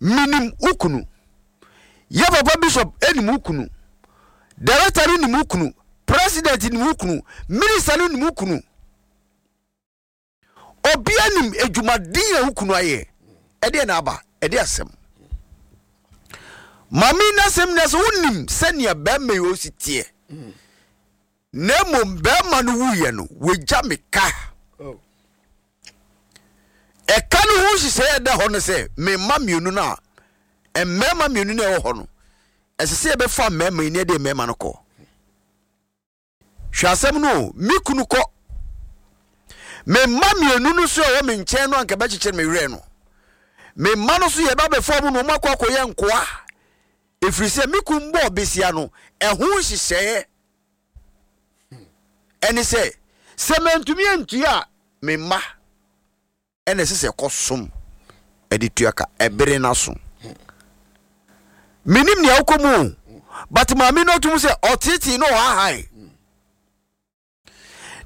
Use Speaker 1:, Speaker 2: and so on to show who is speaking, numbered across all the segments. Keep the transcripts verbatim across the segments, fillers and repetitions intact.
Speaker 1: Menim wo kunu. Yɛ papa bishop nim wo kunu. Director no nim wo kunu. President nim wo kunu. Minister no nim wo kunu. Obia nim adwumaden a wo kunu ayɛ. Ɛdeɛ na aba, ɛde asɛm. Maame n'asɛm na sɛ wonim sɛnea bɛrima yi osi teɛ. Na mmom bɛrima no wuyɛ no, wagya me ka.
Speaker 2: Oh.
Speaker 1: Ɛka no ho nhyehyɛeɛ ɛda hɔ no sɛ me mma mmienu no a mmarima mmienu no a ɛwɔ hɔ no, ɛsɛ sɛ yɛbɛfa mmarima yi na yɛde mmarima no kɔ. Hwɛ asɛm no o, me kunu kɔ. Me mma mmienu no so a ɛwɔ me nkyɛn no anka bɛkyekyere me werɛ no. Me mma no so yɛba bɛfa mu na wɔn akɔ akɔyɛ nkoa. Ɛfiri sɛ me kunu bɔɔ besia no, ɛho nhyehyɛeɛ ɛne sɛ sɛ mantumi antua a me mma ɛna ɛsɛ sɛ ɛkɔsom ɛde tua ka ɛbere no so. Menim nea wokɔ mu o, but maame no atum sɛ ɔtetee na ɔhahae.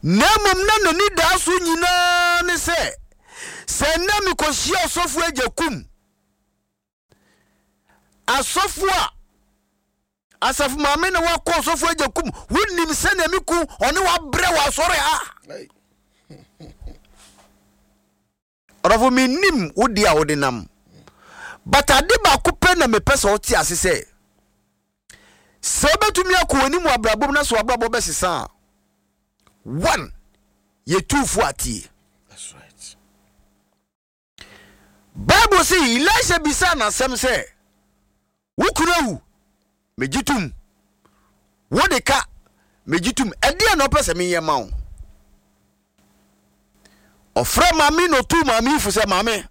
Speaker 1: Na mmom na n'ani daa so nyinaa ne sɛ sɛ nnɛ mekɔhyia ɔsɔfo agya kum asɔfo a asafo maame na wakɔ ɔsɔfo agya kum, wonim sɛnea me ku ɔne wabrɛ wɔ asɔre ha. Ɔdɔfo, menim wo deɛ a wode nam, but ade baako pɛ na mepɛ sɛ wote ase sɛ sɛ wobɛtumi akɔ w'anim wɔ abrabɔ mu na sɛ w'abrabɔ bɛsesa a, one, yɛtuufo atie.
Speaker 2: That's right.
Speaker 1: Bible sɛ Elisha bisaa n'asɛm sɛ wo kunu awu, megye tom, wode ka, megye tom, ɛdeɛ na ɔpɛ sɛ menyɛ ma wo? Ɔfrɛ maame na ɔtuu maame yi fo sɛ, maame,